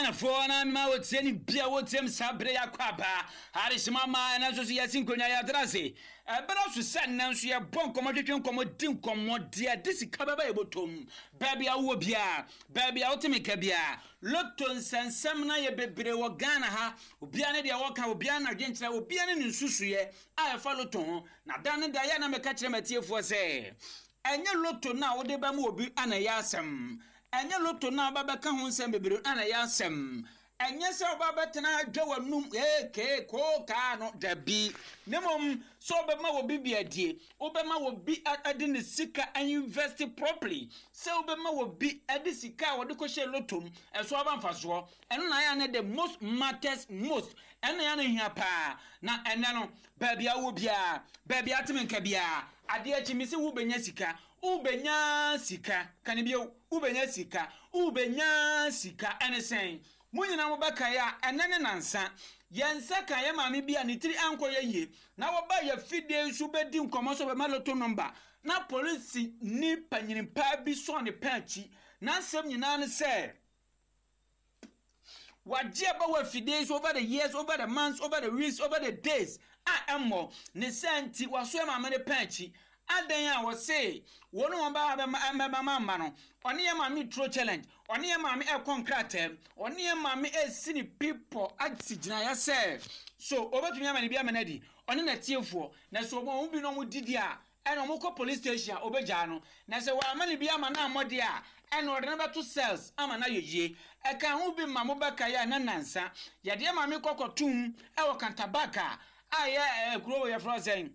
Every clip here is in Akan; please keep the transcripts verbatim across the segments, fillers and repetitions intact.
Ghanafoɔ na mema wɔtie ne bia wɔtie m saa bere yɛakɔ aba adehyema ma ɛno nso so yɛsi nkonnwa yɛatena ase. Ɛberɛ so sɛ nnɛ nso yɛbɔ nkɔmmɔ, twetwe nkɔmmɔ, di nkɔmmɔ deɛ de sika bɛba yɛbɔtɔm. Baabi a wowɔ biaa, baabi a wote meka biaa, loto nsɛnsɛm no yɛ bebree wɔ Ghana ha. Obiara ne deɛ wɔka, obiara na adwenkyerɛ, obiara ne ne nsusuiɛ a ɛfa loto ho. Na da ne da yɛ na mɛka kyerɛ matiefoɔ sɛ ɛnyɛ loto no a wode bɛma obi ana ɛyɛ asɛm, ɛnyɛ loto no a wobɛbɛka ho nsɛm bebree ana ɛyɛ asɛm, ɛnyɛ sɛ woba bɛtena adwa w'anum ee koo kaa no dabi, ne mmom sɛ wobɛma obi bi adie, wobɛma obi ade ne sika invest properly, sɛ wobɛma obi ade sika a wɔde kɔhyɛ loto mu ɛso aba mfasoɔ. Ɛno na ayɛ ne the most matters most, ɛno na yɛ no hia paa. Na ɛnɛ no, baabi a wowɔ biara, baabi a ateme nka biara, adeɛ akyi mi sɛ wobɛnya sika, wobɛnya sika kane bio, wobɛnya sika, wobɛnya sika. Ɛne sɛn mo nyinaa mobɛkae a ɛnɛ ne nansa yɛn nsa ka yɛ maame bi a ne tiri ankɔ yɛ yie na wɔba yɛ fidie nso bɛdi nkɔmmɔ so bɛma loto number, na polisi ni panyinpaa bi sɔɔ ne pɛn akyi. N'asɛm nyinaa ne sɛ wagye aba wɔ afidie so over the years, over the months, over the weeks, over the days a ɛmmɔ ne sɛ nti waso yɛ maame ne pɛn akyi adan a wɔse wɔn a wɔn ba bɛma mama no. Ɔne yɛ maame turo challenge, ɔne yɛ maame ɛkɔ nkrataa, ɔne yɛ maame esi ne pipɔ asi gyinaeɛ sɛ so obetumi ama ne bi ama no adi ɔne n'atiefoɔ. Na so wɔn bi na wɔn didi a ɛna wɔn kɔ police station a obegyaa no, na sɛ wɔn ama ne bi ama no amɔde a, ɛna ɔde no bɛto cells ama no ayɛ yie. Ɛka ho bi ma mo bɛka yɛ a na nansa yɛde maame kɔkɔ tum ɛwɔ Kantabaka a yɛ ɛɛ kuro wɔ yɛfrɛ sɛn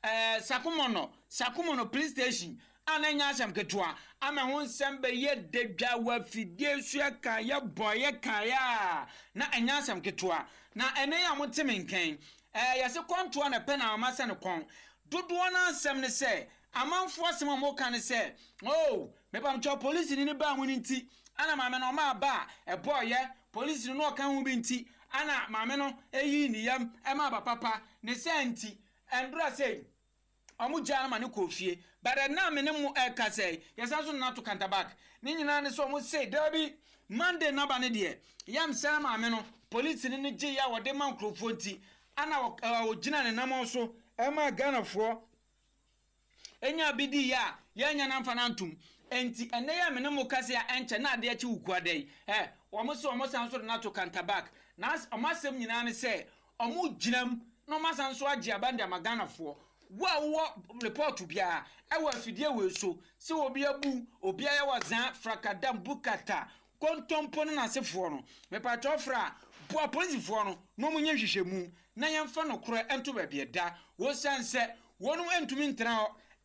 ɛɛ Sakumono, Sakumono police station a na nyɛ asɛm ketewa ama ho nsɛm bɛyɛ dadwa wɔ afidie so. Yɛka yɛbɔ yɛka yɛ a na ɛnyɛ asɛm ketewa. Na ɛnɛ yi a mote me nkɛn ɛɛ yɛsɛ kɔntoa na pɛ na ama sɛ ne kɔn dodoɔ no asɛm ne sɛ amanfoɔ asɛm a wɔka ne sɛ, oh, mepamkyɛw, polisi ni ne baa mu no nti ana maame no ɔma aba a ɛbɔɔyɛ polisi no na ɔka ho bi nti ana maame no eyi ne yam ɛma aba papa ne sɛ nti ɛndora sɛ ɔmo gyaa no ma ne kɔɔ fie. But ɛna me ne mo ɛka sɛ yɛsan so nana to Kantabak ne nyinaa ne sɛ ɔmo se dabi, Monday naba ne deɛ yam sɛ maame no polisi no ne gye yɛ a wɔde ma nkurɔfoɔ nti ana ɔgyina ne nam so ɛma Ghanafoɔ enya bi di yɛ a yɛnya na mfa no antom. Nti ɛnɛ yɛ me ne mo kase a ɛnkyɛ na adeɛ akyi wukua da yi ɛ wɔn sɛ wɔn san so de no ato Kantabak. Na wɔn asɛm nyinaa ne sɛ wɔn gyina mu na wɔn asan so agye aba de ama Ghanafoɔ. Wo a wowɔ report biara ɛwɔ afidie wei so sɛ obi abu obi ayɛ wɔ zan frakadam bukata kontompo no n'asefoɔ no, mepatwɛ fra boa polisifoɔ no na wɔn nyɛ nhwehwɛmu na yɛmfa nokorɛ nto baabi ɛda, wɔsiane sɛ wɔn ntumi ntena hɔ.